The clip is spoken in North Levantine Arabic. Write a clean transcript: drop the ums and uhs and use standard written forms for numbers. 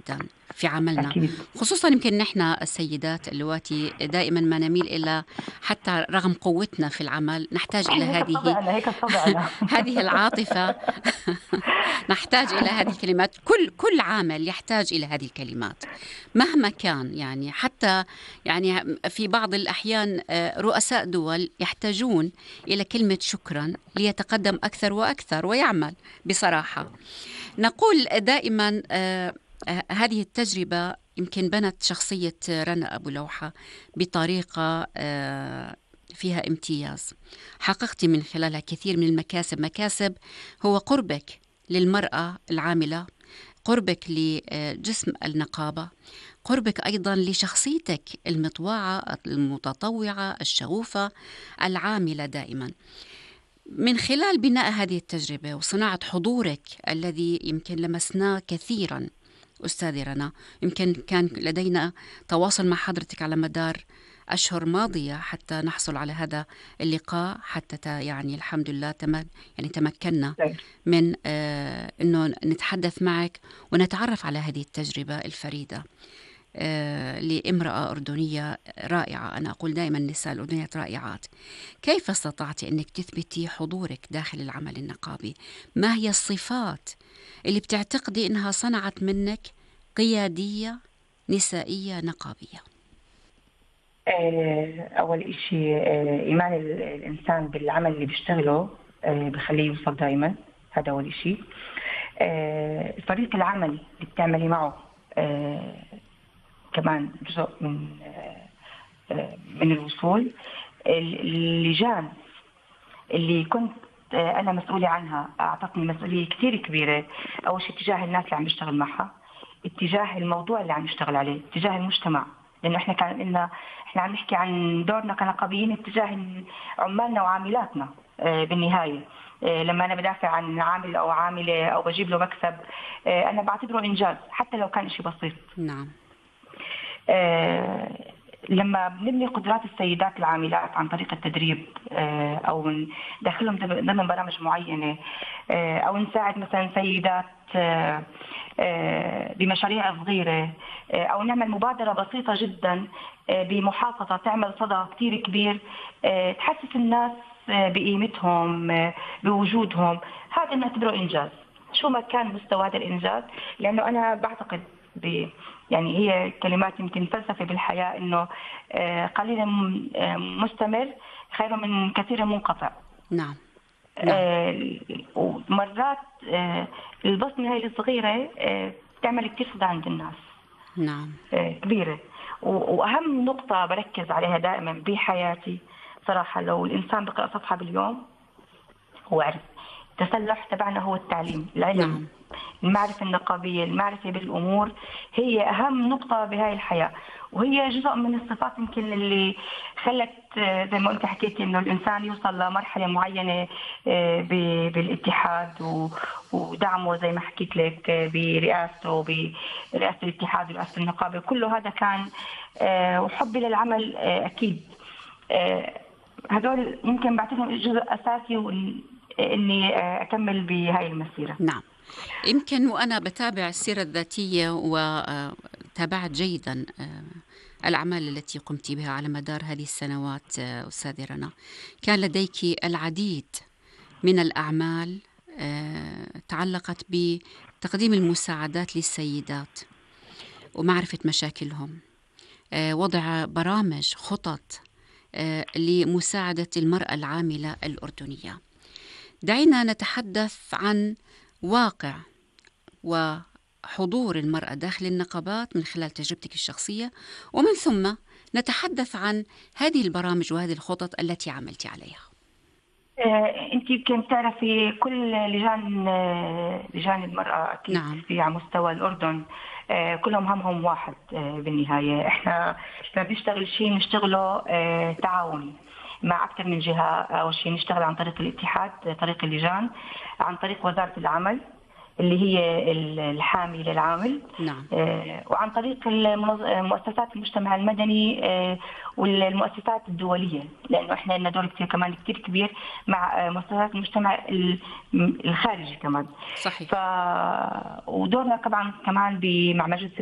جدا في عملنا، أكيد. خصوصا يمكن نحن السيدات اللواتي دائما ما نميل إلى، حتى رغم قوتنا في العمل نحتاج إلى هيك هذه طبعنا، هيك طبعنا. هذه العاطفة. نحتاج إلى هذه الكلمات، كل عامل يحتاج إلى هذه الكلمات مهما كان. يعني حتى يعني في بعض الأحيان رؤساء دول يحتاجون إلى كلمة شكرا ليتقدم أكثر وأكثر ويعمل بصراحة. نقول دائما هذه التجربة يمكن بنت شخصية رنا أبو لوحة بطريقة فيها امتياز، حققت من خلالها كثير من المكاسب. مكاسب هو قربك للمرأة العاملة، قربك لجسم النقابة، قربك أيضا لشخصيتك المطوعة المتطوعة الشغوفة العاملة دائما. من خلال بناء هذه التجربة وصناعة حضورك الذي يمكن لمسناه كثيرا أستاذي رنا، يمكن كان لدينا تواصل مع حضرتك على مدار أشهر ماضية حتى نحصل على هذا اللقاء، حتى يعني الحمد لله يعني تمكنا من أنه نتحدث معك ونتعرف على هذه التجربة الفريدة لامرأة أردنية رائعة. أنا أقول دائما النساء الأردنيات رائعات. كيف استطعت أنك تثبتي حضورك داخل العمل النقابي؟ ما هي الصفات اللي بتعتقدي أنها صنعت منك قيادية نسائية نقابية؟ أول إشي إيمان الإنسان بالعمل اللي بيشتغله بخليه يوصل دايما. هذا أول إشي. فريق العمل اللي بتعملي معه كمان جزء من الوصول. اللجان اللي كنت أنا مسؤولة عنها أعطتني مسؤولية كتير كبيرة. أول شيء اتجاه الناس اللي عم بشتغل معها، اتجاه الموضوع اللي عم نشتغل عليه، اتجاه المجتمع، لأنه إحنا إحنا عم نحكي عن دورنا كنقابيين اتجاه عمالنا وعاملاتنا. بالنهاية لما أنا بدافع عن عامل أو عاملة أو بجيب له مكسب، أنا بعتبره إنجاز حتى لو كان شيء بسيط. نعم. لما بنبني قدرات السيدات العاملات عن طريق التدريب أو ندخلهم ضمن برامج معينة، أو نساعد مثلا سيدات بمشاريع صغيرة، أو نعمل مبادرة بسيطة جدا بمحافظة تعمل صدى كتير كبير، تحسس الناس بقيمتهم بوجودهم، هذا نعتبره إنجاز شو ما كان مستوى هذا الإنجاز. لأنه أنا بعتقد يعني هي كلمات يمكن فلسفة بالحياة، إنه قليل مستمر خير من كثير منقطع. نعم. ومرات البصمة هاي الصغيرة تعمل كتير صدى عند الناس. نعم. كبيرة. وأهم نقطة بركز عليها دائما بحياتي صراحة، لو الإنسان بقرأ صفحة باليوم هو عرف التسلح تبعنا هو التعليم، العلم. نعم. المعرفة النقابية، المعرفة بالأمور هي أهم نقطة بهاي الحياة، وهي جزء من الصفات يمكن اللي خلت زي ما أنت حكيتي إنه الإنسان يوصل لمرحلة معينة بالاتحاد ودعمه زي ما حكيت لك برئاسته، برئاسة الاتحاد ورئاسة النقابة، كله هذا كان وحبي للعمل أكيد. هذول يمكن بعتبرهم جزء أساسي إني أكمل بهاي المسيرة. نعم. يمكن وأنا بتابع السيرة الذاتية وتابعت جيدا الأعمال التي قمت بها على مدار هذه السنوات أستاذة رنا، كان لديك العديد من الأعمال تعلقت بتقديم المساعدات للسيدات ومعرفة مشاكلهم، وضع برامج خطط لمساعدة المرأة العاملة الأردنية. دعينا نتحدث عن واقع وحضور المرأة داخل النقابات من خلال تجربتك الشخصية، ومن ثم نتحدث عن هذه البرامج وهذه الخطط التي عملت عليها. أنت يمكن تعرفي كل لجان المرأة أكيد. نعم. في على مستوى الأردن كلهم همهم واحد. بالنهاية إحنا لما بنشتغل شيء نشتغله تعاوني مع أكثر من جهة. أول شيء نشتغل عن طريق الاتحاد، طريق اللجان، عن طريق وزارة العمل اللي هي الحامي للعامل. نعم. وعن طريق مؤسسات المجتمع المدني والمؤسسات الدولية، لأنه إحنا لنا دور كمان كتير كبير مع مؤسسات المجتمع الخارجي كمان. صحيح. ودورنا طبعا كمان مع مجلس